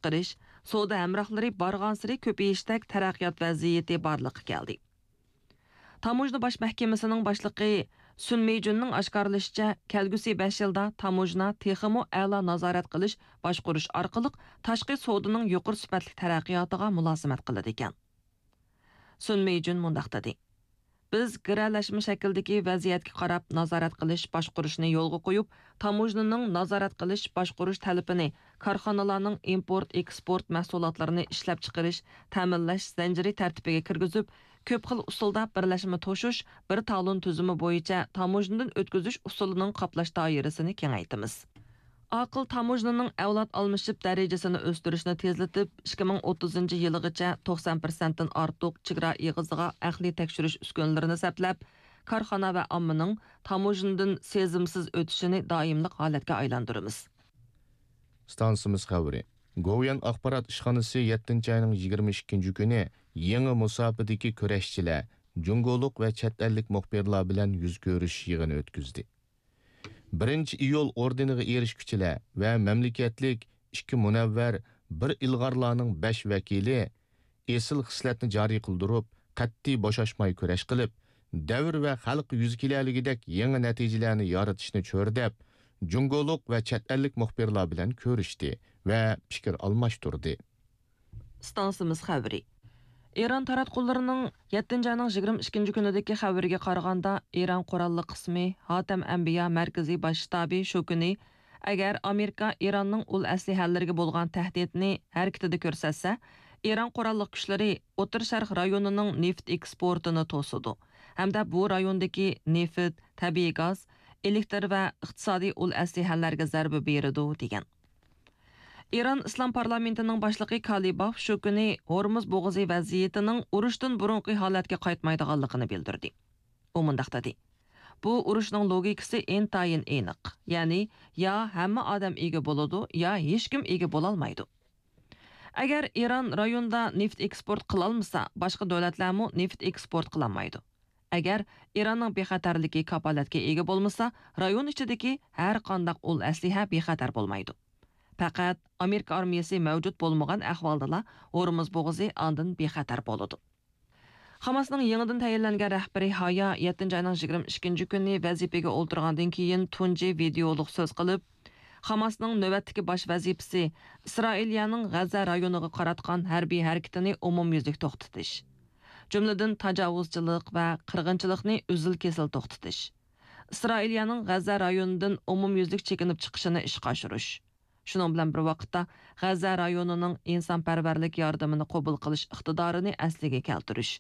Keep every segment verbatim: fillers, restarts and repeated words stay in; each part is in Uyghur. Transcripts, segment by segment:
چىقىرىش، سودا ھەمراھلىرى بارغانسېرى كۆپىيىشتەك تەرەققىيات ۋەزىيىتى بارلىققا كەلدى. تاموژنا باش مەھكىمىسىنىڭ باشلىقى سۈن مېيجۈننىڭ ئاشكارىلىشىچە، كەلگۈسى بەش يىلدا تاموژنا تېخىمۇ ئەلا نازارەت قىلىش، باشقۇرۇش ئارقىلىق تاشقى سودىنىڭ يۇقىرى سۈپەتلىك تەرەققىياتىغا مۇلازىمەت قىلىدىكەن. سۈن مېيجۈن مۇنداق دېدى: بىز گىرەلەشمە شەكىلدىكى ۋەزىيەتكە قاراپ نازارەت قىلىش، باشقۇرۇشنى يولغا قويۇپ، تاموژنىنىڭ نازارەت قىلىش، باشقۇرۇش تەلىپىنى كارخانىلارنىڭ ئىمپورت، ئېكسپورت مەھسۇلاتلىرىنى ئىشلەپچىقىرىش، تەمىنلەش زەنجىرى تەرتىپىگە كىرگۈزۈپ، كۆپ خىل ئۇسۇلدا بىرلەشمە توشۇش، بىر تالون تۈزۈمى بويىچە تاموژنىدىن ئۆتكۈزۈش ئۇسۇلىنىڭ قاپلاش دائىرىسىنى كېڭەيتىمىز. ئاقىل تاموژنىنىڭ ئەۋلاد ئالمىشىپ دەرىجىسىنى ئۆستۈرۈشنى تېزلىتىپ، ئىككى مىڭ ئوتتۇزىنچى يىلىغىچە توقسان پىرسەنتتىن ئارتۇق چېگرا ئېغىزىغا ئەقلىي تەكشۈرۈش ئۈسكۈنىلىرىنى سەپلەپ، كارخانا ۋە ئاممىنىڭ تاموژنىدىن سېزىمسىز ئۆتۈشىنى دائىملىق ھالەتكە ئايلاندۇرىمىز. ئىستانسىمىز خەۋىرى. گوۋۇيۈەن ئاخبارات ئىشخانىسى يەتتىنچى ئاينىڭ يىگىرمە ئىككىنچى كۈنى يېڭى مۇساپىدىكى كۈرەشچىلەر، جۇڭگولۇق ۋە چەت ئەللىك مۇخبىرلار بىلەن يۈز كۆرۈشۈش يىغىنى ئۆتكۈزدى. بىرىنچى ئىيۇل ئوردېنىغا ئېرىشكۈچىلەر ۋە مەملىكەتلىك ئىككى مۇنەۋۋەر، بىر ئىلغارلارنىڭ بەش ۋەكىلى ئېسىل خىسلەتنى جارى قىلدۇرۇپ، قەتئىي بوشاشماي كۈرەش قىلىپ، دەۋر ۋە خەلق يۈز كېلەلىگۈدەك يېڭى نەتىجىلەرنى يارىتىشنى چۆرىدەپ، جۇڭگولۇق ۋە چەت ئەللىك مۇخبىرلار بىلەن كۆرۈشتى ۋە پىكىر ئالماشتۇردى. ئىستانسىمىز خەۋىرى. ئىران تاراتقۇلىرىنىڭ يەتتىنچى ئاينىڭ يىگىرمە ئىككىنچى كۈنىدىكى خەۋىرىگە قارىغاندا، ئىران قوراللىق قىسمى ھاتەم ئەنبىيا مەركىزىي باش شتابى شۇ كۈنى، ئەگەر ئامېرىكا ئىراننىڭ ئۇل ئەسلىھەلىرىگە بولغان تەھدىتنى ھەرىكىتىدە كۆرسەتسە، ئىران قوراللىق كۈچلىرى ئوتتۇرا شەرق رايونىنىڭ نېفىت ئېكسپورتىنى توسىدۇ ھەمدە بۇ رايوندىكى نېفىت، تەبىئىي گاز، ئېلېكتر ۋە ئىقتىسادىي ئۇل ئەسلىھەلەرگە زەربە بېرىدۇ، دېگەن. ئىران ئىسلام پارلامېنتىنىڭ باشلىقى كالىباف شۇ كۈنى ھورمۇز بوغۇزى ۋەزىيىتىنىڭ ئۇرۇشتىن بۇرۇنقى ھالەتكە قايتمايدىغانلىقىنى بىلدۈردى. ئۇ مۇنداق دېدى: بۇ ئۇرۇشنىڭ لوگىكىسى ئىنتايىن ئېنىق، يەنى يا ھەممە ئادەم ئىگە بولىدۇ، يا ھېچكىم ئىگە بولالمايدۇ. ئەگەر ئىران رايوندا نېفىت ئېكسپورت قىلالمىسا، باشقا دۆلەتلەرمۇ نېفىت ئېكسپورت قىلالمايدۇ. ئەگەر ئىراننىڭ بىخەتەرلىكى كاپالەتكە ئىگە بولمىسا، رايون ئىچىدىكى ھەر قانداق ئۇل ئەسلىھە بىخەتەر بولمايدۇ. پەقەت ئامېرىكا ئارمىيىسى مەۋجۇت بولمىغان ئەھۋالدىلا ھورمۇز بوغۇزى ئاندىن بىخەتەر بولىدۇ. خاماسنىڭ يېڭىدىن تەيىنلەنگەن رەھبىرى ھايا يەتتىنچى ئاينىڭ يىگىرمە ئىككىنچى كۈنى ۋەزىپىگە ئولتۇرغاندىن كېيىن تۇنجى ۋىدېئولۇق سۆز قىلىپ، خاماسنىڭ نۆۋەتتىكى باش ۋەزىپىسى ئىسرائىلىيەنىڭ غەززە رايونىغا قاراتقان ھەربىي ھەرىكىتىنى ئومۇميۈزلۈك توختىتىش، جۈملىدىن تاجاۋۇزچىلىق ۋە قىرغىنچىلىقنى ئۈزۈل-كېسىل توختىتىش، ئىسرائىلىيەنىڭ غەززە رايونىدىن ئومۇميۈزلۈك چېكىنىپ چىقىشىنى ئىشقا ئاشۇرۇش، شۇنىڭ بىلەن بىر ۋاقىتتا، غەززە رايونىنىڭ ئىنسانپەرۋەرلىك ياردىمىنى قوبۇل قىلىش ئىقتىدارىنى ئەسلىگە كەلتۈرۈش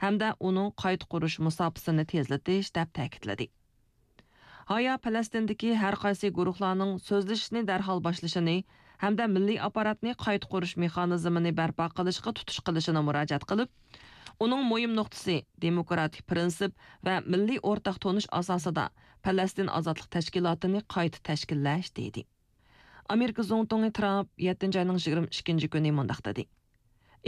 ھەمدە ئۇنىڭ قايتا قۇرۇش مۇساپىسىنى تېزلىتىش، دەپ تەكىتلىدى. ھايا پەلەستىندىكى ھەر قايسى گۇرۇھلارنىڭ سۆزلىشىشنى دەرھال باشلىشىنى ھەمدە مىللىي ئاپپاراتنى قايتا قۇرۇش مېخانىزمىنى بەرپا قىلىشقا تۇتۇش قىلىشىنى مۇراجىئەت قىلىپ، ئۇنىڭ مۇھىم نۇقتىسى دېموكراتىك پىرىنسىپ ۋە مىللىي ئورتاق تونۇش ئاساسىدا پەلەستىن ئازادلىق تەشكىلاتىنى قايتا تەشكىللەش، دېدى. ئامېرىكا زۇڭتۇڭى ترامپ يەتتىنچى ئاينىڭ يىگىرمە ئىككىنچى كۈنى مۇنداق دېدى: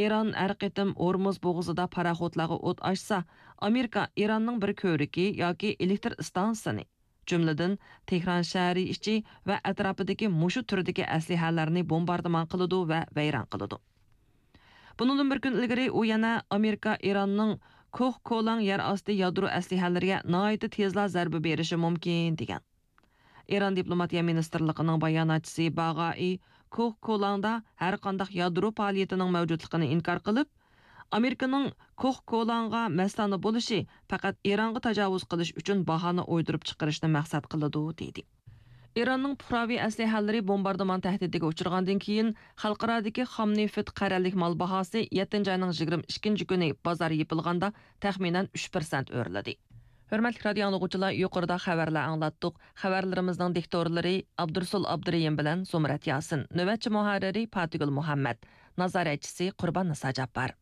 ئىران ھەر قېتىم ھورمۇز بوغۇزىدا پاراخوتلارغا ئوت ئاچسا، ئامېرىكا ئىراننىڭ بىر كۆۋرۈكى ياكى ئېلېكتر ئىستانسىسىنى، جۈملىدىن تېھران شەھىرى ئىچى ۋە ئەتراپىدىكى مۇشۇ تۈردىكى ئەسلىھەلەرنى بومباردىمان قىلىدۇ ۋە ۋەيران قىلىدۇ. بۇنىڭدىن بىر كۈن ئىلگىرى ئۇ يەنە ئامېرىكا ئىراننىڭ كوھ كولاڭ يەر ئاستى يادرو ئەسلىھەلىرىگە ناھايىتى تېزلا زەربە بېرىشى مۇمكىن، دېگەن. ئىران دىپلوماتىيە مىنىستىرلىقىنىڭ باياناتچىسى باغائى كوھ كولاڭدا ھەرقانداق يادرو پائالىيىتىنىڭ مەۋجۇتلۇقىنى ئىنكار قىلىپ، ئامېرىكىنىڭ كوھ كولاڭغا مەستانە بولۇشى پەقەت ئىرانغا تاجاۋۇز قىلىش ئۈچۈن باھانە ئويدۇرۇپ چىقىرىشنى مەقسەت قىلىدۇ، دېدى. ئىراننىڭ پۇقراۋى ئەسلىھەلىرى بومباردىمان تەھدىتىگە ئۇچرىغاندىن كېيىن، خەلقئارادىكى خام نېفىت قەرەللىك مال باھاسى يەتتىنچى ئاينىڭ يىگىرمە ئىككىنچى كۈنى بازار يېپىلغاندا تەخمىنەن ئۈچ پىرسەنت ئۆرلىدى. ھۆرمەتلىك رادىئو ئاڭلىغۇچىلار، يۇقىرىدا خەۋەرلەر ئاڭلاتتۇق. خەۋەرلىرىمىزنىڭ دىكتورلىرى ئابدۇرسۇل ئابدۇرېھىم بىلەن زۇمرەت ياسىن، نۆۋەتچى مۇھەررىرى پاتىگۈل مۇھەممەد، نازارەتچىسى قۇربان نىسا جاپپار.